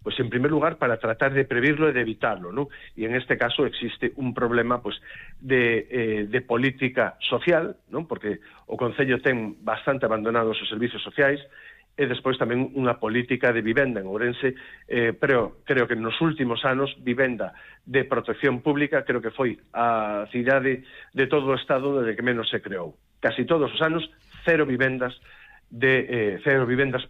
pues en primer lugar para tratar de previrlo e de evitarlo, ¿no? E en este caso existe un problema pues de política social, ¿no? Porque o Concello ten bastante abandonados os servizos sociais, e despois tamén unha política de vivenda en Ourense, pero creo que nos últimos anos vivenda de protección pública creo que foi a cidade de todo o Estado desde que menos se creou. Casi todos os anos cero vivendas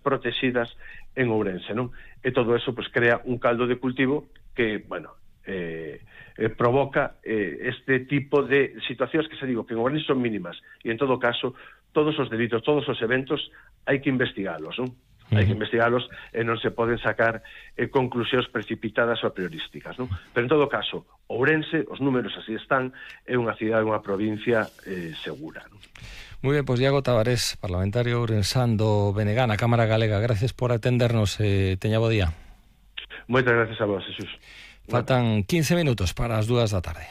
protegidas en Ourense, non? E todo eso pues crea un caldo de cultivo que, bueno, provoca este tipo de situacións que se digo que en Ourense son mínimas e en todo caso todos os delitos, todos os eventos hai que investigalos, non? Hai que investigalos e non se poden sacar conclusións precipitadas ou priorísticas, non? Pero en todo caso, Ourense, os números así están, é unha cidade, unha provincia segura, non? Muy bien, pues Iago Tavares, parlamentario ourensán do BNG na Cámara Galega, gracias por atendernos, teña bo día. Moitas gracias a vos, Jesús. Faltan 15 minutos para as 2 da tarde.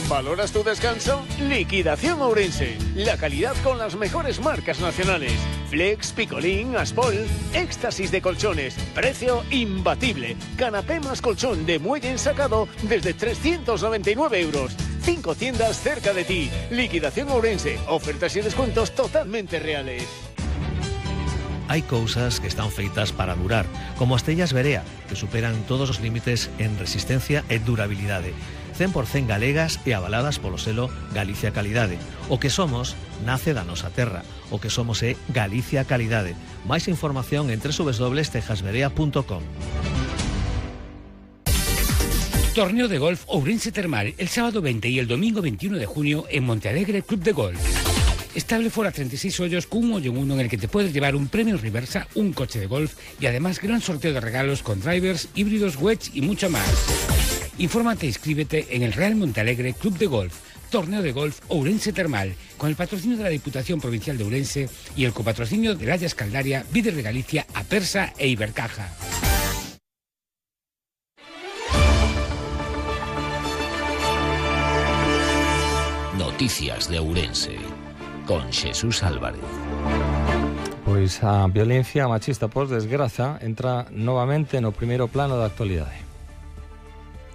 ¿Valoras tu descanso? Liquidación Ourense. La calidad con las mejores marcas nacionales. Flex, Picolín, Aspol, éxtasis de colchones. Precio imbatible. Canapé más colchón de muelle ensacado desde 399 euros. 5 tiendas cerca de ti. Liquidación Ourense. Ofertas y descuentos totalmente reales. Hai cousas que están feitas para durar, como as tellas Berea, que superan todos os límites en resistencia e durabilidade. 100% galegas e avaladas polo selo Galicia Calidade. O que somos nace da nosa terra. O que somos é Galicia Calidade. Máis información en www.tejasberea.com. Torneo de golf Ourense Termal el sábado 20 y el domingo 21 de junio en Montealegre Club de Golf. Estable fuera 36 hoyos con un hoyo en uno en el que te puedes llevar un premio reversa, un coche de golf y además gran sorteo de regalos con drivers, híbridos, wedge y mucho más. Infórmate e inscríbete en el Real Montealegre Club de Golf, Torneo de Golf Ourense Termal, con el patrocinio de la Diputación Provincial de Ourense y el copatrocinio de Layas Caldaria, Víder de Galicia, Apersa e Ibercaja. Noticias de Ourense, con Jesús Álvarez. Pois a violencia machista, por desgraza, entra novamente no primeiro plano da actualidade.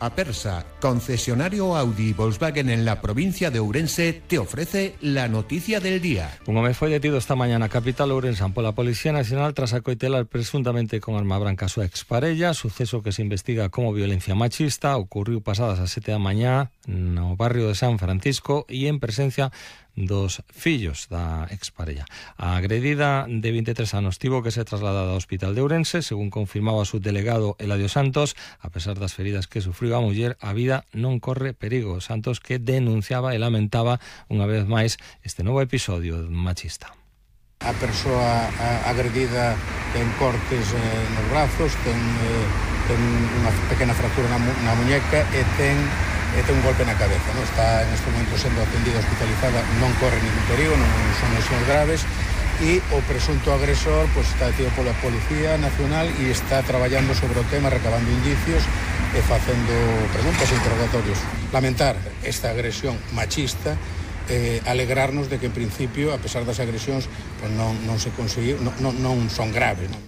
Apersa, concesionario Audi y Volkswagen en la provincia de Ourense, te ofrece la noticia del día. Un home foi detido esta mañá na capital ourensán pola Policía Nacional tras acoitelar presuntamente con arma branca a súa exparella, suceso que se investiga como violencia machista, ocurriu pasadas as 7 da mañá no barrio de San Francisco e en presencia dos fillos da exparella. A agredida de 23 anos tivo que ser trasladada ao Hospital de Ourense, según confirmaba o subdelegado Eladio Santos. A pesar das feridas que sufriu a muller, a vida non corre perigo. Santos, que denunciaba e lamentaba unha vez máis este novo episodio machista. A persoa agredida ten cortes nos brazos, ten unha pequena fractura na muñeca e ten un golpe na cabeza, non? Está neste momento sendo atendida hospitalizada, non corre ningún perigo, non son lesións graves, e o presunto agresor pues, está detido pola Policía Nacional e está traballando sobre o tema, recabando indicios e facendo preguntas e interrogatorios. Lamentar esta agresión machista, alegrarnos de que en principio, a pesar das agresións, pues non se conseguiu, non son graves, non?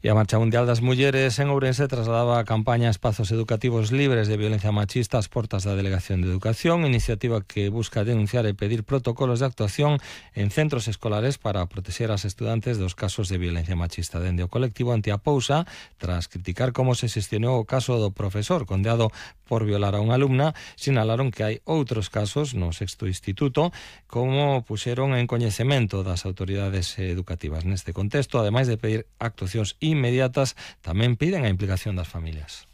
E a Marcha Mundial das Mulleres en Ourense trasladaba a campaña Espazos Educativos Libres de Violencia Machista ás portas da Delegación de Educación, iniciativa que busca denunciar e pedir protocolos de actuación en centros escolares para protexer as estudantes dos casos de violencia machista. Dende o colectivo Antiapousa, tras criticar como se xestionou o caso do profesor condeado por violar a unha alumna, sinalaron que hai outros casos no sexto instituto, como puxeron en coñecemento das autoridades educativas. Neste contexto, ademais de pedir actuacións inmediatas, tamén piden a implicación das familias.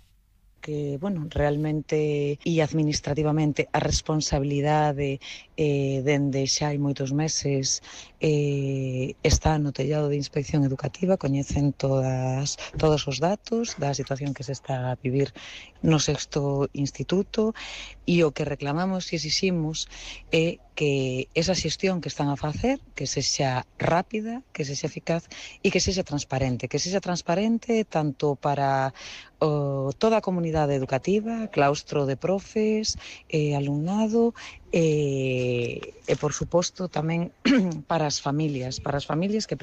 Que, bueno, realmente e administrativamente a responsabilidade dende xa hai moitos meses está no tellado de Inspección Educativa, coñecen todos os datos da situación que se está a vivir no sexto instituto e o que reclamamos e exiximos é que esa xestión que están a facer, que sexa rápida, que sexa eficaz e que sexa transparente tanto para toda a comunidade educativa, claustro de profes, alumnado e por suposto tamén para as familias que